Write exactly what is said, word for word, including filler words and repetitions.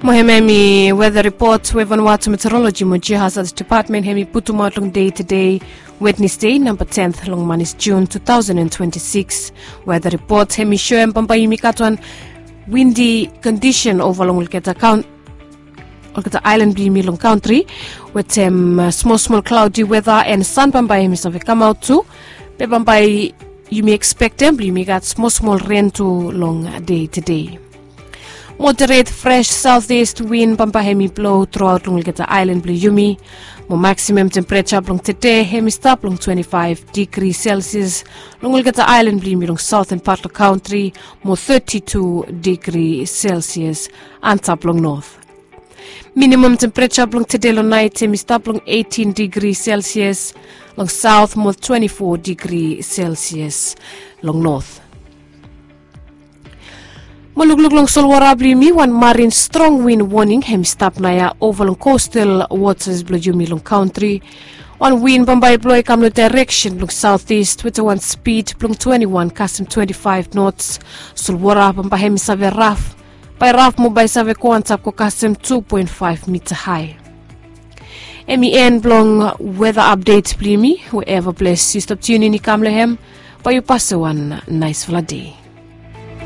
Mo hemia hemi weda ripot we Vanuatu Meteorology mo Geohazard Department hemi putumaot long dei tedei, Wednesday, namba tenth long manis Jun two thousand and twenty-six. Weda ripot hemi soem bambae yumi gat wan windi kondisen ova long olgeta kaon olgeta aelan blong yumi long kantri, wetem smol smol klaodi weda and san bambae hemi save kamaot tu. Be bambae yumi ekspektem blong yumi gat smol smol ren tu long dei tedei. Moderet fres saoteast win bambae hemi blou truaot long olgeta aelan blong yumi. Mo maksimam tempereja blong tede hemi stap long twenti faef digri selsias long olgeta aelan blong yumi long saoten pat long kantri, mo teti tu digri selsias antap long not. Minimam tempereja blong tede long naet hemi stap long eitin digri selsias long saot mo twenti fo digri selsias long not. Mo lukluk long solwara blong yumi, wan marin strong win woning hemi stap naoia ova long kostal wotas blong yumi long kantri. Wan win bambae i blou i kam long daereksen blong saoteast wetem wan spid blong twenti wan kasem twenti faef nots. Solwara bambae hemi save raf, bae raf mo bae save go antap go kasem tu poen faef mita hae. Hemi en blong weda apdet blong yumi. Wherever ples yu stap tiunin i kam long hem, bae yu pasem wan naesfala dei.